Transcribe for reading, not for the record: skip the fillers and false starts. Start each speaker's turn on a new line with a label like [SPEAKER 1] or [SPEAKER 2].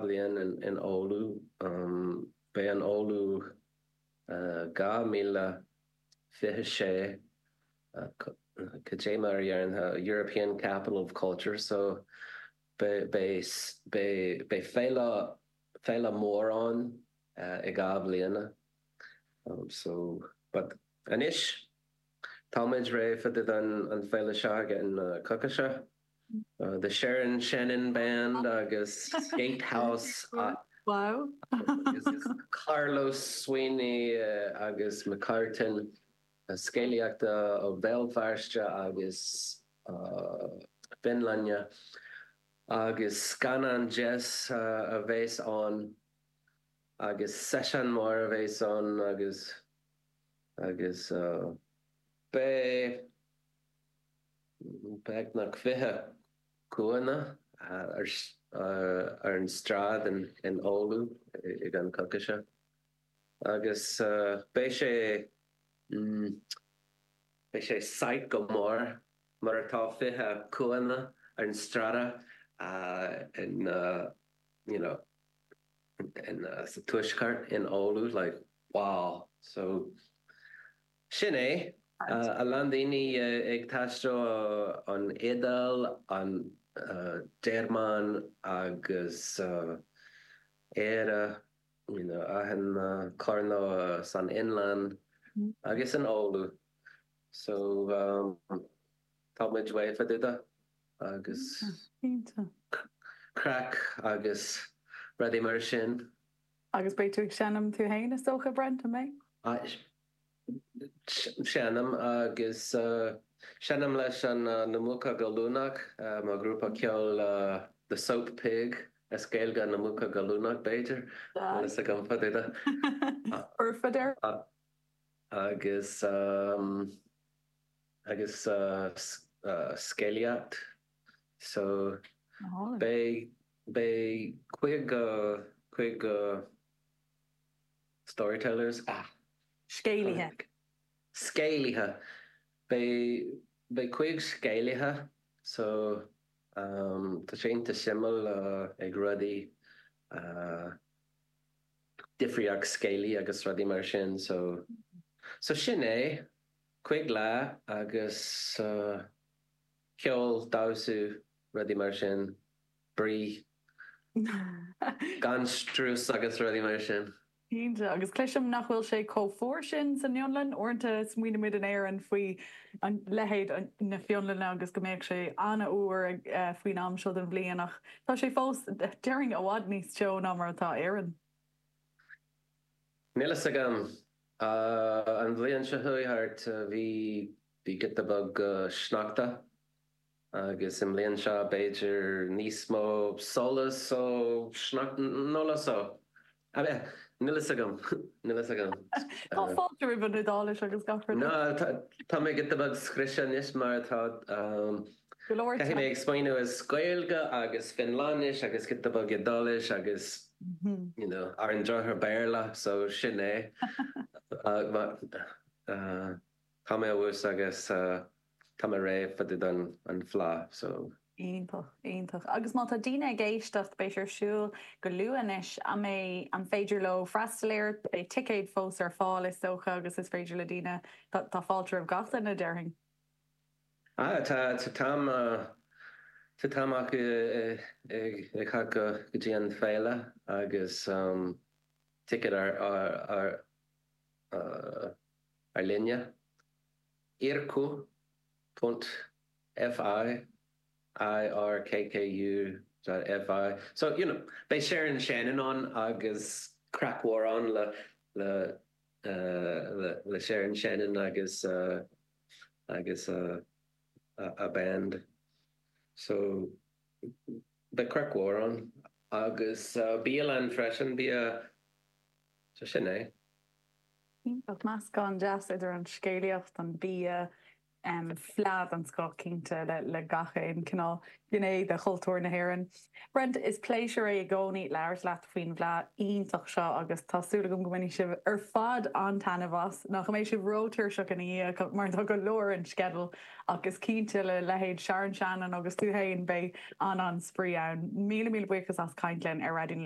[SPEAKER 1] bliain in Oulu. Beidh in Oulu 2026, cad é mar a deireann European Capital of Culture, so beidh féile, féile mór ann i 2 bhliana. So, but anois táimid réidh fá dtaobh don an féile seo ag an coicíse. The Sharon Shannon Band agus Gatehouse
[SPEAKER 2] Wow.
[SPEAKER 1] agus Carlos Sweeney agus McCartan scéalaíochta ó Bhéal Feirste agus Fionlainne agus scannán deas a bheas ann agus seisiún mór a bheas ann agus agus beidh beagnach 20 cúinne ar an stráid in Oulu ag an coicíse agus beidh sé beidh sé site go mór mar atá 20 cúinne ar an stráid in you know in sa tuaisceart in Oulu like wow so sin é a lán daoine ag taisteal an Iodáil an Ghearmáin agus Éire you know achan coirnéal san Fhionlainn agus in Oulu so tá muid réidh fá dtaobh de agus craic agus rudaí mar sin.
[SPEAKER 2] Agus beidh tú ag seinm tú fhéin is dócha, Brent, an
[SPEAKER 1] mbeidh? Seinm agus seinm leis an Na Muca Goilliúnach, mo ghrúpa ceoil The Soap Pig, as Gaeilge Na Muca Goilliúnach b'fhéidir, níl fhios agam fá dtaobh de.
[SPEAKER 2] Foirfe dear.
[SPEAKER 1] Agus agus scéalaíocht so beidh beidh 50 50 storytellers ah
[SPEAKER 2] Scéalaithe.
[SPEAKER 1] Scéalaithe. Beidh beidh 50 scéalaithe so tá sé iontach suimiúil ag rudaí difríocht scéalaí agus rudaí mar sin so so sin é. 5 lá agus ceol, damhsa, rudaí mar sin, brí, gan strus agus rudaí mar sin.
[SPEAKER 2] Cinnte, agus cloisim nach bhfuil sé chomh fuar sin san Fhionlainn. Uaireanta smaoinímid in Éirinn faoi leithéid na Fionlainne agus go mbeadh sé an-fhuar faoin am seo den bhliain ach tá sé fós, déarfainn, i bhfad níos teo ná mar atá Éirinn.
[SPEAKER 1] Níl fhios agam. An bhliain seo chuaigh thart bhí bhí giota beag sneachta agus i mbliain seo b'fhéidir níos mó solas ó sneachta níl fhios níl fhios agam níl fhios agam.
[SPEAKER 2] Tá fáilte roimh an Iodáilis agus gach
[SPEAKER 1] rud. No tá mé giota beag scriosta anois mar tá
[SPEAKER 2] Go leor
[SPEAKER 1] Caithfidh mé ag smaoineamh as Gaeilge agus Fionlainnis agus giota beag Iodáilis agus you know ar an drochuair Béarla so sin é. Tá mé abhus agus tá mé réidh fá dtaobh don an Fleadh so.
[SPEAKER 2] Iontach, iontach. Agus má tá daoine ag éisteacht, beidh sé ar siúl go luath anois, an mbeidh, an féidir leo freastal air? Beidh ticéid fós ar fáil is dócha agus is féidir le daoine, tá fáilte roimh gach duine déarfainn.
[SPEAKER 1] Ah, tá, tá t-am, tá t-am acu ag teacht go dtí an féile agus ticket ar, ar, ar líne. Irkku ponc FI, I R K K U dot FI. So, you know, beidh Sharon Shannon ann agus craic mhór ann le, le, le Sharon Shannon agus agus a band. So beidh craic mhór ann agus bialann freisin, bia, so sin é.
[SPEAKER 2] Iontach, meascán deas idir an scéalaíocht, an bia, Fleadh den scoth cinnte le gach aon cineál gné de chultúr na hÉireann. Brent, is pléisiúr é i gcónaí labhairt leat faoin bhFleadh iontach seo agus tá súil agam go mbainfidh sibh ar fad an-taitneamh as, nach mbeidh sibh ró-tuirseach ina dhiaidh mar tá go leor ar an sceideal ach is cinnte le leithéid Sharon Shannon agus tú féin beidh an-an-spraoi ann. Míle míle buíochas as caint linn ar Raidió na.